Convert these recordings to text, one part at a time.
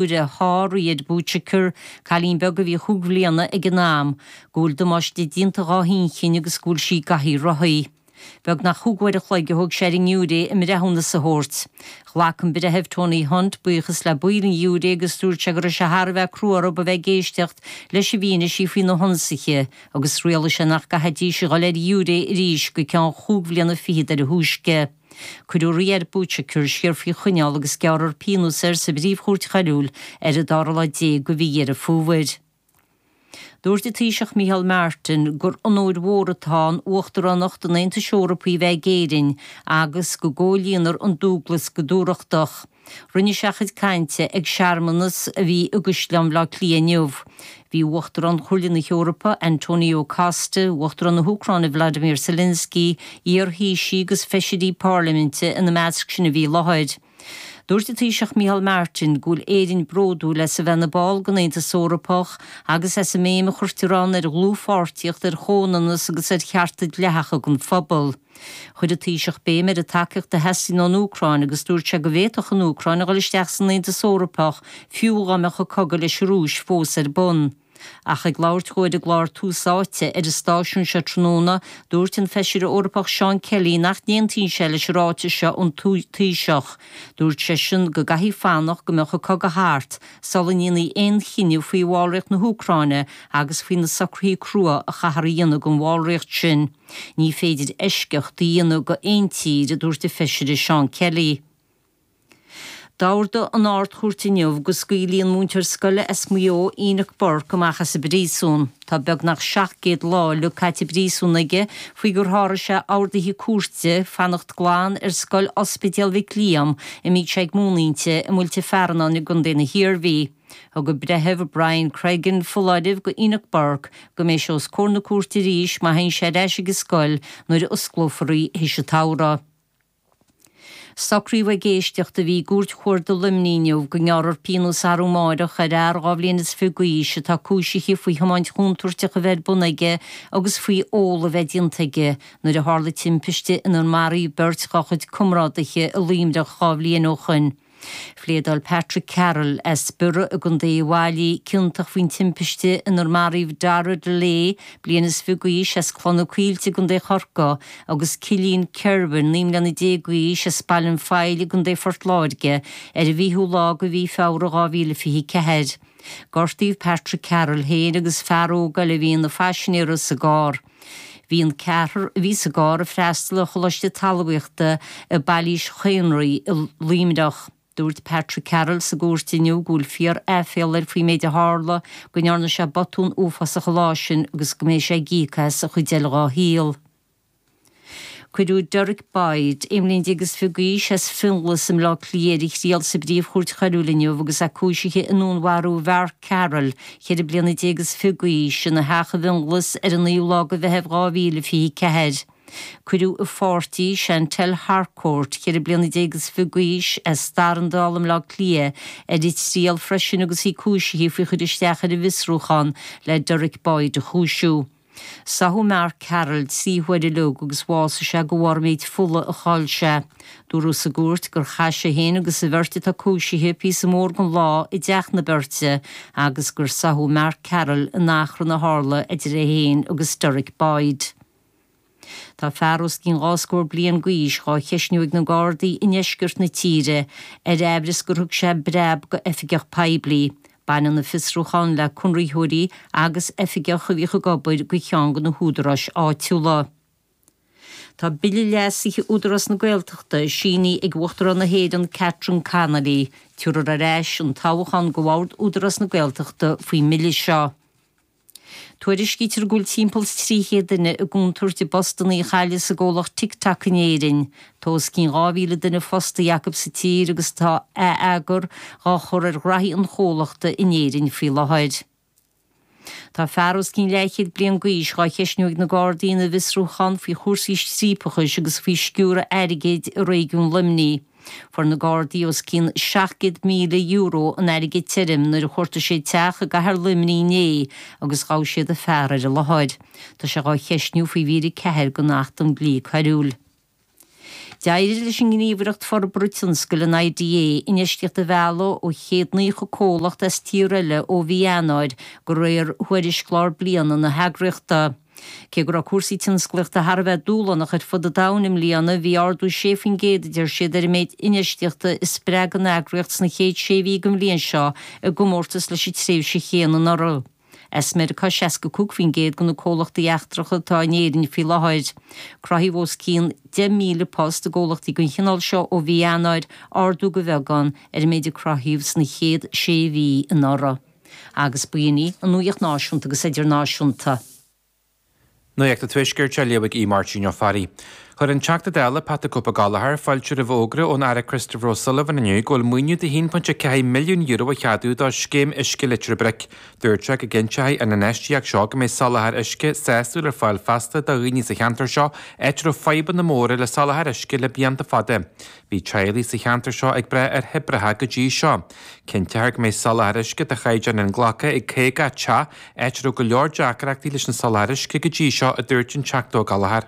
Giúire sháigh Riyad Bouchaker, cailín beag a bhí chúig bhliana ag an am, go bhfuil damáiste déanta dhá hinchinn agus go bhfuil sí i gcathaoir rothaí. Beagnach chúig uair a chloig a thóg sé ar an ngiúiré a mbreithiúnas a thabhairt. Ghlac an Breitheamh Tony Hunt buíochas le baill an ghiúiré agus dúirt sé go raibh sé thar a bheith crua orthu a bheith ag éisteacht leis an bhfianaise faoi na hionsaithe agus rialaigh sé nach gcaithfidís a dhul ar ghiúiré arís go ceann chúig bhliana fichead ar a thúisce. Cuireadh Riyad Bouchaker siar faoi choinneáil agus gearrfar pionós air sa bPríomh-Chúirt Choiriúil ar an dara lá déag de mhí Dheireadh Fómhair. Dúirt an Taoiseach Micheál Martin gur onóir mhór atá ann Uachtaránacht an Aontais Eorpaigh a bheith ag Éirinn agus go gcomhlíonfar an dualgas go dúthrachtach. Rinne sé a chuid cainte ag searmanas a bhí i gCaisleán Bhaile Átha Cliath inniu. Bhí Uachtarán Chomhairle na hEorpa, Antonio Costa, Uachtarán na hÚcráine Vladimir Zelensky, iar-Thaoisigh agus feisirí parlaiminte ina measc sin a bhí i láthair. Dúirt an Taoiseach Micheál Martin go bhfuil Éirinn bródúil as a bheith ina ball den Aontas Eorpach agus as an mbéim a chuirtear ann ar dhlúthpháirtíocht, ar chomhionannas agus ar chearta dleathacha don phobal. Chuir an Taoiseach béim ar an tacaíocht a theastaíonn ón Úcráin agus dúirt sé go bhféadfadh an Úcráin a dhul isteach san Aontas Eorpach fiú dá mbeadh an cogadh leis an Rúis fós ar bun. Ach ag labhairt dhó ar an gclár Tús Áite ar an stáisiún seo tráthnóna, dúirt an Feisire Eorpach Seán Kelly nach n-aontaíonn sé leis an ráiteas seo ón Taoiseach. Dúirt seisean go gcaithfí fanacht go mbeadh an cogadh thart sula ndéanfaí aon chinneadh faoi bhallraíocht na hÚcráine agus faoi na socruithe crua a chaithfear a dhéanamh don bhallraíocht sin. Ní féidir eisceacht a dhéanamh go aon tír, a dúirt an Feisire Seán Kelly. D'ordaigh an Ard-Chúirt inniu go scaoilfí an múinteoir scoile as Maigh Eo, Enoch Burke, amach as an bpríosún. Tá beagnach 700 lá uilig caite i bpríosún aige faoi gur sháraigh sé orduithe cúirte fanacht glan ar scoil Ospidéal Mhic Liam a mbíodh sé ag múineadh inti i Muilte Fearnáin i gContae na hIarmhí. Thug an Breitheamh Brian Cregan foláireamh go Enoch Burke go mbeidh sé os comhair na cúirte arís má théann sé ar ais ag an scoil nuair a osclófar í théis an tsamhraidh. Socraíodh ag éisteacht a bhí i gCúirt Chuarda Luimnigh inniu go ngearrfar pionós arú amáireach ar fhear 22 bhliain d'aois atá cúisithe faoi thiomáint chontúirteach a bheith ar bun aige agus faoi ól a bheith déanta aige nuair a tharla timpiste inar maraíodh beirt dá chuid comrádaithe i Luimneach 2 bhliain ó shoin. Phléadáil Patrick Carroll, as Biorra i gContae Uíbh Fhailí, ciontach faoin timpiste inar maraíodh Dara Delay, bliain is fiche d'aois, as Cloich na Coillte i gContae Chorcaí, agus Cillian Kirwan, 19 mbliana d'aois, as Baile an Phoill i gContae Phort Láirge, ar an bhfichiú lá de mhí Feabhra 2024. Gortaíodh Patrick Carroll féin agus fear óg eile a bhí ina phaisinéara sa gcarr. Bhí an ceathrar a bhí sa gcarr ag freastal ar Choláiste Talmhaíochta i bPailís Chaonraí i Luimneach. Dúirt Patrick Carroll sa gcúirt inniu go bhfuil fíor-aiféala air faoin méid a tharla, go ndearna sé botún uafásach an lá sin agus go mbeidh sé ag íoc as an chuid eile dhá shaol. Cuireadh Derek Boyd, 21 mbliain d'aois, as Fionnghlas i mBleá Cliath ar a thriail sa bPríomh-Chúirt Choiriúil inniu agus é cúisithe i ndúnmharú Mhark Carroll, 24 bliana d'aois, ina theach i bhFionnghlas ar an 9ú lá de Mheitheamh 2024. Cuireadh a pháirtí, Chantelle Harcourt, 24 bliana d'aois, as Darndál i mBleá Cliath, ar a triail freisin agus í cúisithe faoi chur isteach ar an bhfiosrúchán le Derek Boyd a chúisiú. Sáthadh Mark Carroll 3 huaire uilig agus bhásaigh sé de bharr an méid fola a chaill sé. Dúradh sa gcúirt gur chaith sé féin agus an bheirt atá cúisithe píosa mór den lá i dteach na beirte agus gur sáthadh Mark Carroll in achrann a tharla idir é féin agus Derek Boyd. Tá fear os cionn dhá scór bliain d'aois dhá cheistniú ag na Gardaí i ndeisceart na tíre ar aimhreas gur thug sé breab go oifigeach poiblí. Baineann an fiosrúchán le conraitheoirí agus oifigeach a bhíodh ag obair go cheann de na húdaráis áitiúla. Tá Bille Leasaithe Údarás na Gaeltachta sínithe ag Uachtarán na hÉireann Catherine Connolly. Tabharfar ar ais an toghchán go Bhord Údarás na Gaeltachta faoin mbille seo. Tuairiscítear go bhfuil timpeall is 300 duine i gcontúirt a bpostanna a chailleadh sa gcomhlacht TikTok in Éirinn. Tá os cionn 2,000 duine fostaithe acu sa tír agus tá ath-eagar dhá chur ar ghraithí an chomhlachta in Éirinn faoi láthair. Tá fear os cionn leathchéad bliain d'aois dhá cheistniú ag na Gardaí ina bhfiosrúchán faoi chúrsaí striapachais agus faoi sciúradh airgid i réigiún Luimnigh. Fuair na Gardaí os cionn €700,000 in airgead tirim nuair a chuartaigh siad teach i gcathair Luimnigh inné agus ghabh siad an fear ar an láthair. Tá sé dhá cheistniú faoi mhír 4 den Acht um Dhlí Coiriúil. D'éirigh leis an nGníomhaireacht Forbartha Tionscail, an IDA, infheistíocht a mhealladh ó 190 comhlacht as tíortha eile ó mhí Eanáir, de réir thuairisc lár bliana na heagraíochta. Cé go raibh cúrsaí tionsclaíochta thar a bheith dúshlánach ar fud an domhain i mbliana, bhí ardú 6%, a deir siad, ar an méid infheistíochta a spreag an eagraíocht sna chéad sé mhí den bhliain seo i gcomórtas leis an tréimhse chéanna anuraidh. As Meiriceá 65% de na comhlachtaí eachtracha atá in Éirinn faoi láthair. Cruthaíodh os cionn 10,000 post i gcomhlachtaí den chineál seo ó mhí Eanáir, ardú de bheagán ar an méid a cruthaíodh sna chéad sé mhí anuraidh. Agus b'in í an nuacht náisiúnta agus idirnáisiúnta. Nuacht an Tuaiscirt á léamh ag Aodh Máirtín Ó Fearraigh. Chuir an Teachta Dála Pat the Cope Gallagher fáilte roimh fhógra ón Aire Christopher O'Sullivan inniu go bhfuil maoiniú de €1.4 milliún á cheadú do Scéim Uisce Leitir Bric. Dúirt sé go gcinnteoidh an infheistíocht seo go mbeidh soláthar uisce sásúil ar fáil feasta do dhaoine sa cheantar seo, áit a raibh fadhbanna móra le soláthar uisce le blianta fada. Bhí teaghlaigh sa cheantar seo ag brath ar thoibreacha go dtí seo. Cinnteofar go mbeidh soláthar uisce de chaighdeán inghlactha ag 50 teach, áit a raibh go leor deacrachtaí leis an soláthar uisce go dtí seo, a dúirt an Teachta Ó Gallchóir.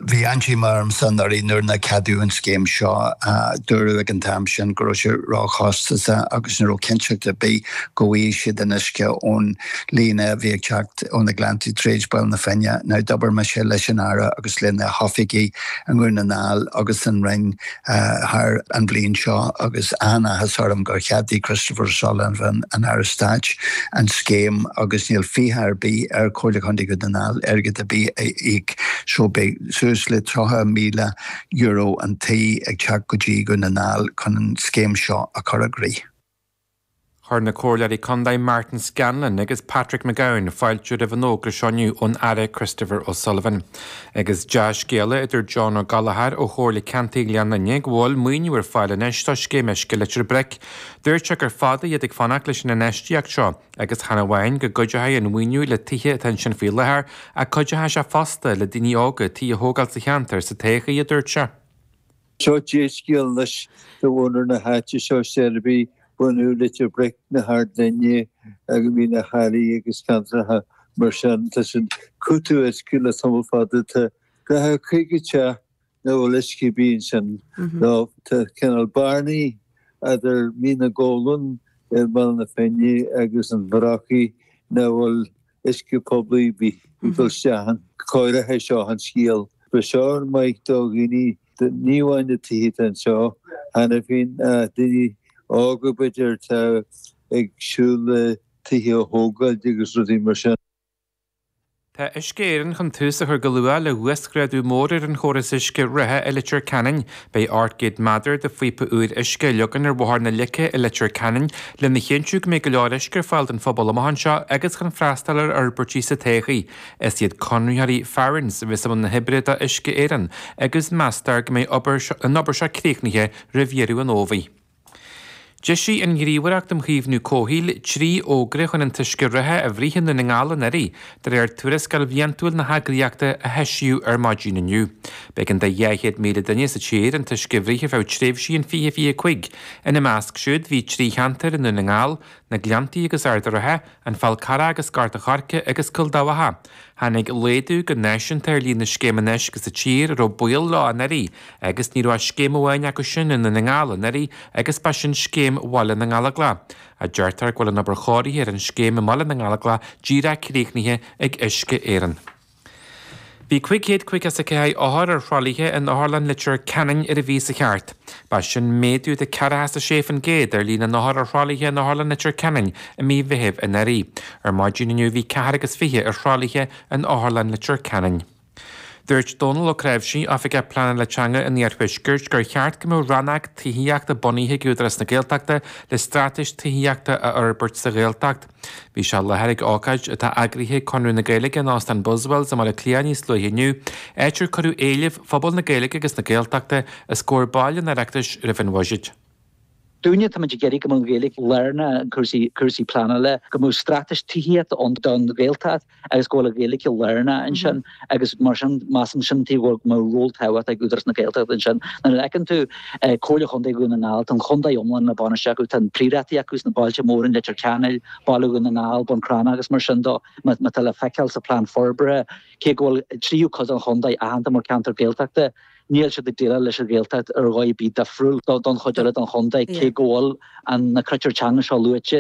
Bhí an-díomá ormsa anuraidh nuair nár ceadaíodh an scéim seo. Dúradh ag an t-am sin go raibh sé róchostasach agus ní raibh cinnteacht ar bith go bhfaighidh siad an uisce ón líne a bhí ag teacht ó na Gleanntaí tríd Baile na Finne. Now d'obair mise leis an Aire agus lena hoifigigh i nDún na nGall agus an Roinn thar an bhliain seo agus an-áthas orm gur cheadaigh Christopher O'Sullivan, an Aire Stáit, an scéim agus níl fiacha ar bith ar Chomhairle Chontae Dhún na nGall airgead ar bith a íoc so beidh suas le €30,000 an tí ag teacht go dtí Dhún na nGall chun an scéim seo a chur i gcrích. Chuir na Comhairleoirí Contae Martin Scanlon agus Patrick McGowan fáilte roimh an fhógra seo inniu ón Aire Christopher O'Sullivan. Agus dea-scéala a dúirt John Ó Gallchóir ó Chomhairle Ceantair Ghleann Fhinne go bhfuil maoiniú ar fáil anois do Scéim Uisce Leitir Bric. Dúirt sé gur fada iad ag fanacht leis an infheistíocht seo agus chan amháin go gcuideoidh an mhaoiniú le tithe atá ansin faoi láthair ach cuideoidh sé fosta le daoine óga tithe a thógáil sa cheantar sa todhchaí, a dúirt sé. Seo dea-scéal anois do mhuintir na háite seo, Seirby, bunú Leitir Bric, na hArd Fhinne agus Mín an Charraigh agus ceantracha mar sin. Tá siad ag cúiteamh uisce le tamall fada. Tá 40, 50 teach nach bhfuil uisce ar bith ansin. Tá cineál bearnaí idir Mín na gColann ar Bhaile na Finne agus an Bhrocaigh nach bhfuil uisce poiblí ar bith ag dul isteach ann. Cóireoidh seo an scéal. Beidh seo an-mhaith do dhaoine, ní amháin na tithe atá anseo cheana féin ach daoine óga b'fhéidir atá ag siúl le tithe a thógáil agus rudaí mar sin. Tá Uisce Éireann chun tús a chur go luath le huasghrádú mór ar an chóras uisce reatha i Leitir Ceanainn. Beidh 800 méadar de phíopa úr uisce á leagan ar Bhóthar na Leice i Leitir Ceanainn lena chinntiú go mbeidh go leor uisce ar fáil don phobal amach anseo agus chun freastal ar fhorbairtí sa todhchaí. Is iad conraitheoirí Farrans a bheas i mbun na hoibre do Uisce Éireann agus meastar go mbeidh an obair seo críochnaithe roimh dheireadh an fhómhair. D'eisigh an Ghníomhaireacht um Chaomhnú Comhshaoil 3 fhógra chun an t-uisce reatha a bhruith i nDún na nGall anuraidh, de réir tuarascáil bhliantúil na heagraíochta a heisíodh ar maidin inniu. B'éigean do 200,000 duine sa tír an t-uisce a bhruith ar feadh tréimhsí in 2025. Ina measc siúd bhí 3 cheantar i Ndún na nGall, Na Gleanntaí agus Ard an Rátha, An Fál Carrach agus Gort an Choirce agus Cúil Dabhcha. Tháinig laghdú go náisiúnta ar líon na scéimeanna uisce sa tír a raibh baol leo anuraidh agus ní raibh ach scéim amháin acu sin i nDún na nGall anuraidh agus ba sin scéim Bhaile na nGallóglach. Deirtear go bhfuil an obair chóirithe ar an scéim i mBaile na nGallóglach díreach críochnaithe ag Uisce Éireann. Bhí 554 othar ar thralaithe in Otharlann Leitir Ceanainn ar an mhí seo thart. Ba sin méadú de 46% ar líon na n-othar ar thralaithe in Otharlann Leitir Ceanainn i mí Mheithimh anuraidh. Ar maidin inniu bhí ceathair agus fiche ar thralaithe in Otharlann Leitir Ceanainn. Dúirt Dónal Ó Cnáimhsí, Oifigeach Pleanála Teanga an Iarthuaiscirt, gur cheart go mbeadh rannóg tithíochta bunaithe ag Údarás na Gaeltachta le straitéis tithíochta a fhorbairt sa Ghaeltacht. Bhí sé i láthair ag ócáid atá eagraithe ag Conradh na Gaeilge in Óstán Buswells i mBaile Átha Cliath níos luaithe inniu, áit ar cuireadh éilimh phobal na Gaeilge agus na Gaeltachta os comhair baill an Oireachtais roimh an bhuiséad. Dúinne, táimid ag iarraidh go mbeadh an Ghaeilge lárnach i gcúrsaí, cúrsaí pleanála, go mbeadh straitéis tithíochta ann don Ghaeltacht agus go bhfuil an Ghaeilge lárnach ansin agus mar sin measaim sin taobh go mbeadh ról tábhachtach ag Údarás na Gaeltachta ansin. Nuair a fheiceann tú Comhairle Chontae Dhún na nGall, tá an chontae iomlán le bainistiú acu, tá an príorachtaí acu sna bailte móra in Leitir Ceanainn, Baile Dhún na nGall, Bun Cranncha agus mar sin de, má tá le feiceáil sa phlean forbartha, cé go bhfuil tríú cuid den chontae aitheanta mar cheantar Gaeltachta. Níl siad ag déileáil leis an Ghaeltacht ar dhóigh ar bith difriúil don chuid eile den chontae, cé go bhfuil na critéir teanga seo luaite.